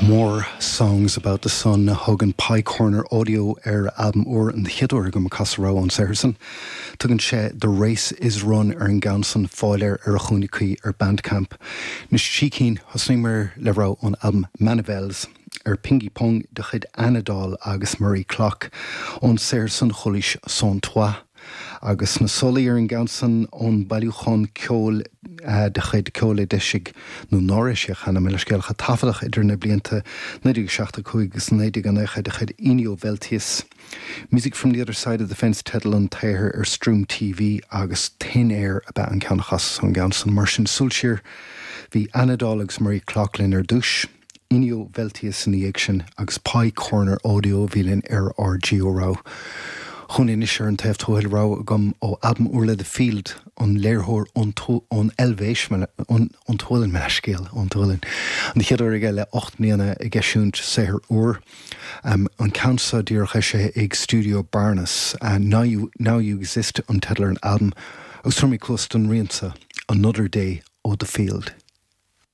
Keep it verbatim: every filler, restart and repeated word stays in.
More Songs About the Sun a thugann Pie Corner Audio ar albam úr an chéad uair agam ag casadh rogha ón saothar san. Tugann sé The Race is Run ar an gceann san fáil air ar a chúinne cuí ar Bandcamp. Anois trí cinn thosnaíomar le rogha ón albam Manivels ar Pingy Pong de chuid Anadol agus Marie Clock ón saothar san chualaís Sans Toi. Agus na solaí ar an gceann san ón bailiúchán ceoil eh, de chuid ceol a d'eisigh nó nár eisíodh cheana le scéalacha taifeadach idir na blianta naoi déag seachtó cúig agus naoi déag nócha de chuid Inio Veltius. Music from the other side of the fence teideal an tsaothair ar Stream TV agus Thin Air ab ea an ceann a chasas ón gceann san mar sin súil siar bhí Anadol agus Marie Clock linn ar dtús. Inio Veltius ina dhiaidh sin agus Pie Corner Audio bhí linn ar ár dtríú rogha. Chun anois ar an taobh tuathail rogha agam ó albam úr le The Field an léiritheoir ón Eilvéis ón tSualainn mo leithscéal ón tSualainn. An chéad uair aige le ocht mbliana ag eisiúint saothar úr. Um, an ceann seo díreach eisithe ag Studio Barnes uh, now, you, now You Exist an teideal ar an albam agus tabharfaidh mé cluas don rian seo Another Day ó The Field.